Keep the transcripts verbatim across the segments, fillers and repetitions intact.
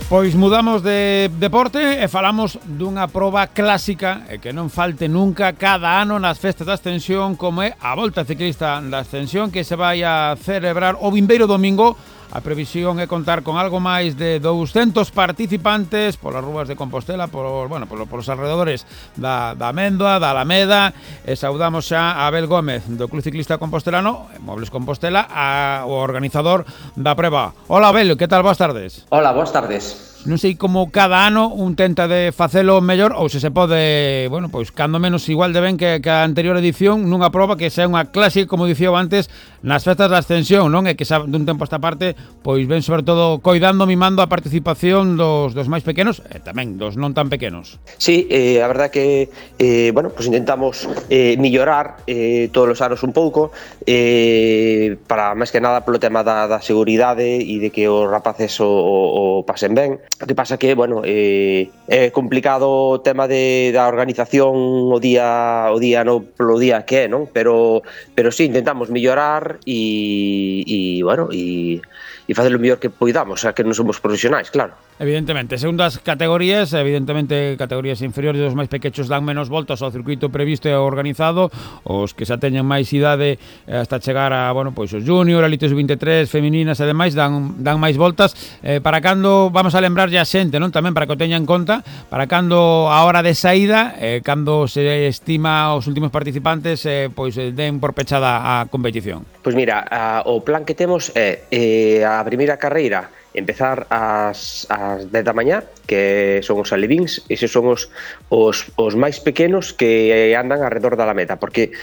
Pois mudamos de deporte e falamos dunha proba clásica e que non falte nunca cada ano nas festas da Ascensión, como é a Volta Ciclista da Ascensión, que se vai a celebrar o vindeiro domingo. A previsión é contar con algo máis de douscentos participantes polas rúas de Compostela, por, bueno, por, por os alrededores da, da Amendoa, da Alameda. E saudamos xa a Abel Gómez do Club Ciclista Compostelano, Mobles Compostela, a, o organizador da preba. Hola Abel, que tal? Boas tardes. Hola, boas tardes. Non sei como cada ano un tenta de facelo mellor ou se se pode, bueno, pois cando menos igual de ben que, que a anterior edición nunha proba que sea unha clásica, como dicía antes, nas festas da Ascensión, non? E que xa dun tempo esta parte, pois ven sobre todo coidando, mimando a participación dos, dos máis pequenos e tamén dos non tan pequenos. Sí, eh, a verdad que, eh, bueno, pues intentamos eh, mellorar eh, todos os anos un pouco, eh, para máis que nada polo tema da, da seguridade e de que os rapaces o, o, o pasen ben. O que pasa que, bueno, eh, é complicado o tema de, da organización o día o día no polo día que é, non? Pero pero sí, intentamos mellorar e, e bueno, e, e facer o mellor que poidamos, xa que non somos profesionais, claro. Evidentemente, segundas categorías, evidentemente categorías inferiores dos máis pequechos dan menos voltas ao circuito previsto e organizado, os que xa teñen máis idade hasta chegar a, bueno, pois os junior, elites vinte e tres, femininas e demais dan dan máis voltas. Eh, para cando vamos a lembrarlle a xente, non? Tamén para que o teña en conta, para cando a hora de saída, eh, cando se estima os últimos participantes, eh, pois eh, den por pechada a competición. Pois mira, a, o plan que temos é eh, a primeira carreira empezar ás, ás dez da mañá, que son os alevíns, eses son os, os, os máis pequenos que andan alrededor da Alameda, porque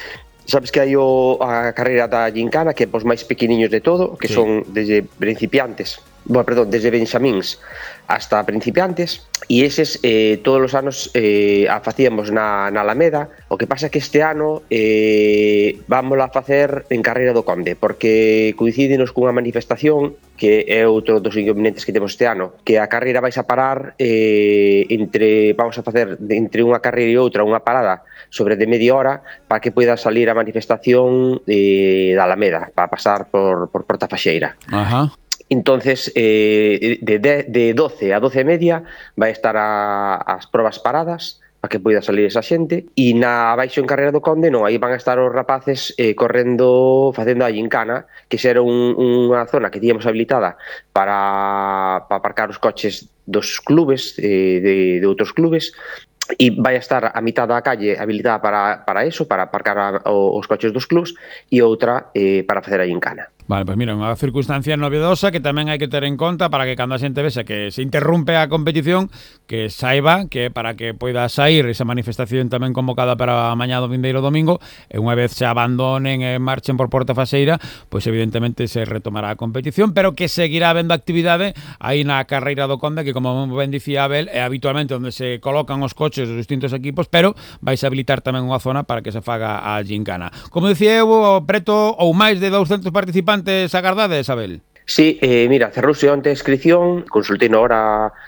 sabes que hai o, a carreira da Gincana, que é os máis pequeniños de todo, que sí, son desde principiantes, bueno, perdón, desde benxamíns hasta principiantes, e eses eh, todos os anos eh, a facíamos na, na Alameda. O que pasa é que este ano eh, vámola a facer en Carreira do Conde, porque coincídenos cunha manifestación que é outro dos inconvenientes que temos este ano, que a carreira vais a parar eh, entre, vamos a facer entre unha carreira e outra unha parada sobre de media hora para que poida salir a manifestación eh, da Alameda, para pasar por, por Porta Faxeira. Ajá. Entonces, eh, de, de, de doce a doce e media vai estar a, as probas paradas para que poida salir esa xente, e na abaixo en Carreira do Conde non, aí van a estar os rapaces eh, correndo, facendo a gincana, que xa era un, unha zona que tíamos habilitada para, para aparcar os coches dos clubes, eh, de, de outros clubes, e vai a estar a mitad da calle habilitada para, para eso, para aparcar a, os coches dos clubs, e outra eh, para facer a gincana. Vale, pois mira, unha circunstancia novedosa que tamén hai que ter en conta para que cando a xente vexa que se interrumpe a competición, que saiba que para que poida sair esa manifestación tamén convocada para mañá do vindeiro domingo, e unha vez se abandonen e marchen por Porta Faxeira, pois evidentemente se retomará a competición, pero que seguirá habendo actividade aí na Carreira do Conde, que como ben dicía Abel, é habitualmente onde se colocan os coches dos distintos equipos, pero vais a habilitar tamén unha zona para que se faga a gincana. Como dicía eu, preto ou máis de douscentos participantes agardades, Abel? Sí, eh, mira, cerrouse onte a inscripción, consultei na hora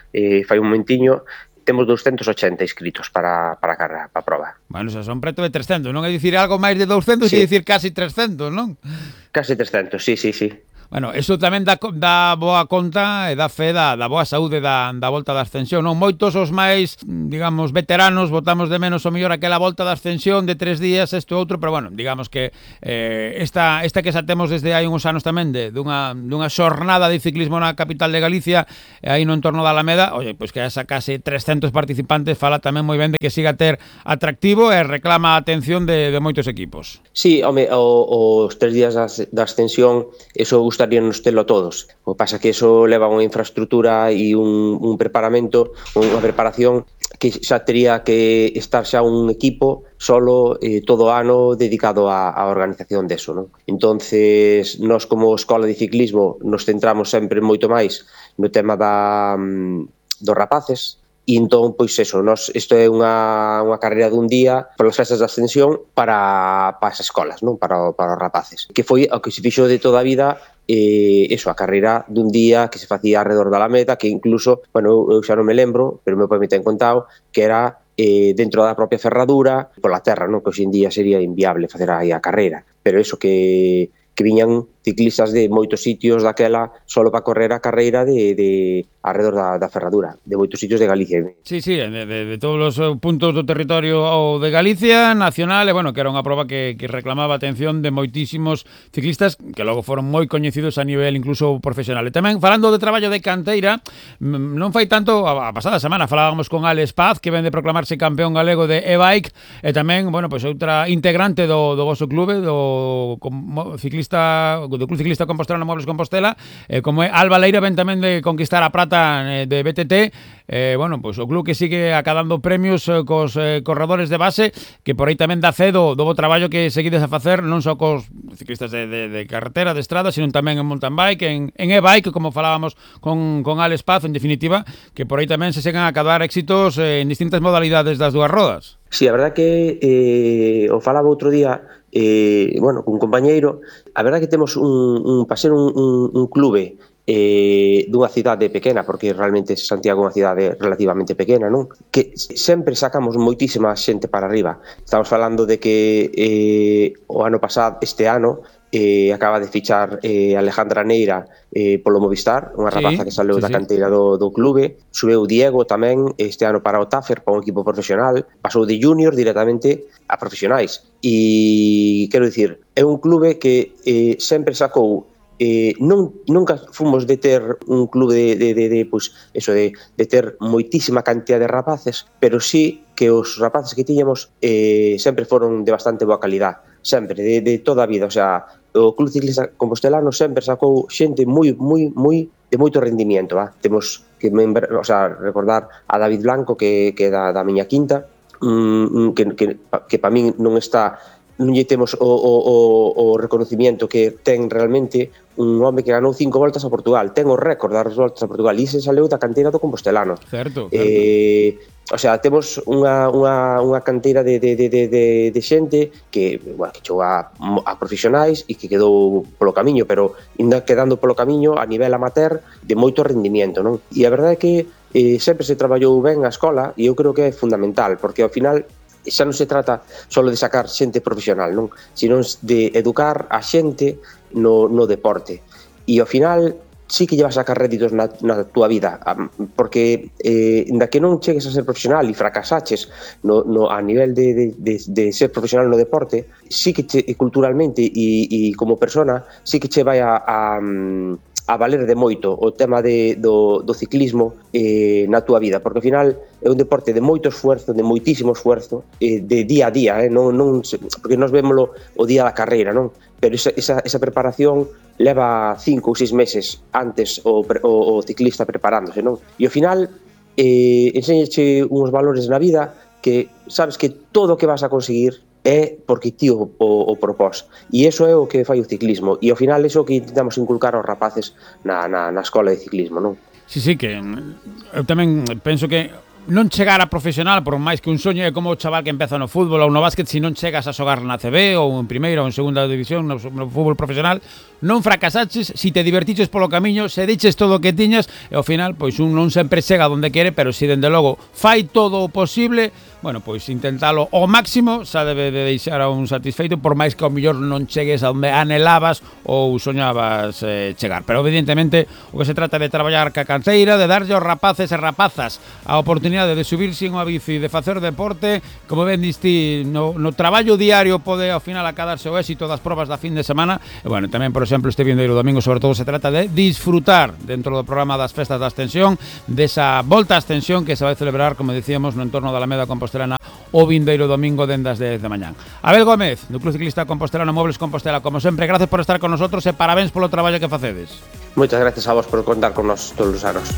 eh, fai un momentiño, temos doscientos ochenta inscritos para, para a carrera, para a prova. Bueno, xa son preto de trescentos, non é dicir algo máis de douscentos, sí, e dicir casi trescentos, non? Casi trescentos, sí, sí, sí. Bueno, eso tamén dá, dá boa conta e dá fe da, da boa saúde da, da Volta da Ascensión, non? Moitos os máis, digamos, veteranos, botamos de menos o mellor aquela Volta da Ascensión de tres días, isto outro, pero bueno, digamos que eh, esta, esta que xa temos desde hai uns anos tamén de, dunha, dunha xornada de ciclismo na capital de Galicia, e aí no entorno da Alameda, oye, pois que esa case trescentos participantes fala tamén moi ben de que siga a ter atractivo e reclama a atención de, de moitos equipos. Sí, home, o, os tres días da, da Ascensión, eso gusta gustaríanos telo a todos. O que pasa que eso leva unha infraestructura e un, un preparamento, unha preparación que xa tería que estar xa un equipo solo eh, todo o ano dedicado á, á organización deso, non? Entonces, nós como escola de ciclismo nos centramos sempre moito máis no tema da, dos rapaces. E entón, pois eso, nos, isto é unha, unha carreira dun día polas festas de Ascensión para, para as escolas, non? Para, para os rapaces. Que foi o que se fixo de toda a vida, eh, eso, a carreira dun día que se facía alrededor da Alameda, que incluso, bueno, eu xa non me lembro, pero meu pai me ten contado, que era eh, dentro da propia ferradura, pola terra, non? Que hoxe en día sería inviable facer aí a carreira. Pero eso, que, que viñan ciclistas de moitos sitios daquela solo para correr a carreira de, de alrededor da, da Ferradura, de moitos sitios de Galicia. Sí, sí, de, de, de todos os puntos do territorio de Galicia, nacional, e bueno, que era unha proba que, que reclamaba a atención de moitísimos ciclistas que logo foron moi coñecidos a nivel incluso profesional. E tamén, falando de traballo de canteira, non fai tanto, a pasada semana falábamos con Alex Paz, que ven de proclamarse campeón galego de e-bike, e tamén, bueno, pois outra integrante do, do vosso clube, do com, ciclista, do Club Ciclista Compostelano Mobles Compostela, eh, como é Alba Leira, ven tamén de conquistar a prata eh, de B T T, eh, bueno, pois o club que sigue acadando premios eh, cos eh, corredores de base, que por aí tamén dá fe do, do bo traballo que seguides a facer, non só cos ciclistas de, de, de carretera, de estrada, sino tamén en mountain bike, en, en e-bike, como falábamos con, con Alex Paz, en definitiva, que por aí tamén se seguen a acadar éxitos eh, en distintas modalidades das dúas rodas. Sí, a verdad que eh, o falaba outro día, eh, bueno, cun compañeiro, a verdad que temos un, un para ser un, un, un clube eh, dunha cidade pequena, porque realmente Santiago é unha cidade relativamente pequena, non? Que sempre sacamos moitísima xente para arriba. Estamos falando de que eh, o ano pasado, este ano, eh, acaba de fichar eh, Alejandra Neira eh, polo Movistar, unha rapaza sí, que saleu sí, da canteira do, do clube. Subeu Diego tamén este ano para o Tafer, para un equipo profesional. Pasou de junior directamente a profesionais. E quero dicir, é un clube que eh, sempre sacou Eh, non, nunca fomos de ter un clube de, de, de, de, pues, eso de, de ter moitísima cantidad de rapaces, pero sí que os rapaces que tiñamos eh, sempre foron de bastante boa calidad, sempre, de, de toda a vida. O sea, o Club Ciclista Compostelano sempre sacou xente moi, moi, moi de moito rendimiento, va? Temos que membra, o sea, recordar a David Blanco, que, que é da, da miña quinta, mm, que, que, que para min non está, non lle temos o, o, o, o reconocimiento que ten realmente un home que ganou cinco voltas a Portugal, ten o récord das voltas a Portugal, e se saleu da canteira do Compostelano. Certo, certo. Eh, o sea, temos unha, unha, unha canteira de, de, de, de, de xente que, bueno, que chegou a, a profesionais e que quedou polo camiño, pero ainda quedando polo camiño a nivel amateur de moito rendimiento, non? E a verdade é que eh, sempre se traballou ben a escola, e eu creo que é fundamental, porque ao final xa non se trata só de sacar xente profesional, non? Sino de educar a xente no, no deporte. E ao final sí que llevas a sacar réditos na, na túa vida, porque eh, da que non chegues a ser profesional e fracasaches no, no, a nivel de, de, de, de ser profesional no deporte, sí que che, culturalmente e, e como persona, sí que che vai a, a a valer de moito o tema de, do, do ciclismo eh, na túa vida, porque ao final é un deporte de moito esfuerzo, de moitísimo esfuerzo, eh, de día a día, eh, non, non, porque nós vémolo o día da carreira, non? Pero esa, esa, esa preparación leva cinco ou seis meses antes o, o, o ciclista preparándose, non? E ao final eh, enseñache uns valores na vida que sabes que todo o que vas a conseguir é porque ti o, o, o propós, e iso é o que fai o ciclismo, e ao final iso que intentamos inculcar aos rapaces na, na, na escola de ciclismo, non? Sí, sí, que eu tamén penso que non chegar a profesional, por máis que un soño, é como o chaval que empeza no fútbol ou no básquet, se non chegas a xogar na C B ou en primeira ou en segunda división no, no fútbol profesional, non fracasaches, si te divertiches polo camiño, se diches todo o que tiñas, e ao final, pois un non sempre chega onde quere, pero si dende logo fai todo o posible, bueno, pois intentalo ao máximo, xa debe de deixar a un satisfeito, por máis que ao mellor non chegues a onde anhelabas ou soñabas eh, chegar. Pero evidentemente o que se trata de traballar ca canteira, de darlle aos rapaces e rapazas a oportunidade de subirse en unha bici, de facer deporte, como ben diste, no, no traballo diario pode ao final acadarse o éxito das probas da fin de semana. E bueno, tamén, por exemplo, este vindeiro domingo, sobre todo se trata de disfrutar dentro do programa das festas da Ascensión, desa volta á Ascensión que se vai celebrar, como decíamos, no entorno da Alameda Compostelana o vindeiro domingo dende as dez da mañán. Abel Gómez, do Club Ciclista Compostelano Mobles Compostela, como sempre, gracias por estar con nosotros e parabéns polo traballo que facedes. Moitas gracias a vos por contar con nos todos os anos.